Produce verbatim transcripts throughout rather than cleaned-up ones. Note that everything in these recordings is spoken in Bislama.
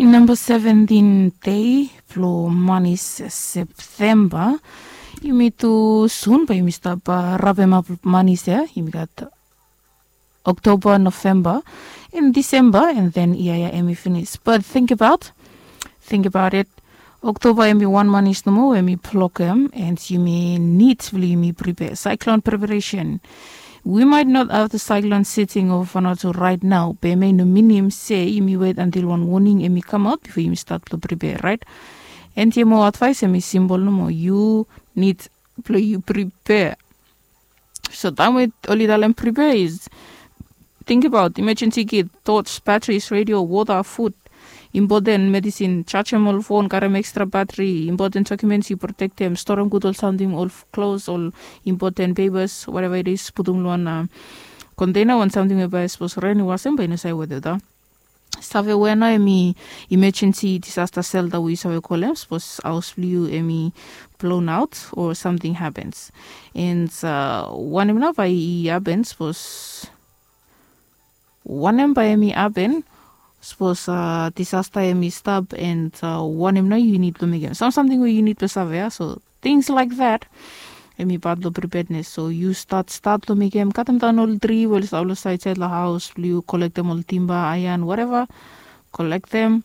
Namba seventin dei blong manis Septemba. Yumi tu sun bae yumi stap rabemap manis ya. Yumi gat Oktoba, Novemba, and Disemba, and then ia ya em i finis. But think about, think about it. Oktoba em i wan manis nomo we em i blokem, and yumi nid blong yumi prepare. Cyclone preparation. We might not have the cyclone sitting over Vanuatu right now, be em i no minim se yumi wet until wan warning em i kamaot bifo yumi stat blong prepare, right? And ia moa advice em i simbol nomo, yu nid blong yu prepare. So taem we oli talem prepare is, think about emergency kit, torch, batteries, radio, water, food, important medicine, jajem ol phone, karem extra battery, important documents yu protectem, storem gud ol samting, ol clothes, ol important papers, whatever it is, putum long wan container, wan samting we bae sapos ren i wasem bae i no save wet olgeta. Save wea nao em i emergency disaster shelter we yu save kolem sapos haos blong yu em i blown out o samting happens. And wanem nao bae i happen sapos, wanem bae em i happen sapos disaster em i stap, and wanem nao yu nid blong mekem, sam samting we yu nid blong save ya. So things like that, em i pat long preparedness. So yu stat stat long mekem, katemdaon ol tri we oli stap long saedsaed long haos blong yu, kolektem ol timba, aean, whatever, kolektem,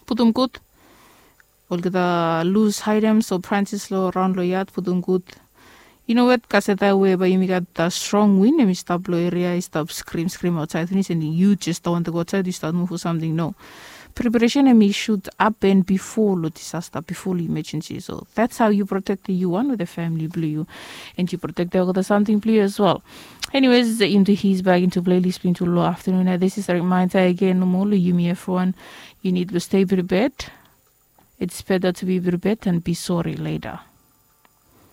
putum gud. Olgeta lus aetems o branches long raon long yad, putum gud. Yu no wet kaseta we bae yumi gat strong win em i stap long eria i stap skrim skrim aotsaed finis, and yu jes dao wantem go aotsaed yu stat muv o samting, no. Preparesen em i sud hapen bifo long disasta, bifo long emergency. So that's how yu protektem yu wan wetem famili blong yu, and yu protektem olgeta samting blong yu as well. Anyways, into his back into playlist blong into long afternoon. This is a reminder again nomo long yumi evriwan, yu nid blong stay prepared. It's better to be prepared than be sorry later.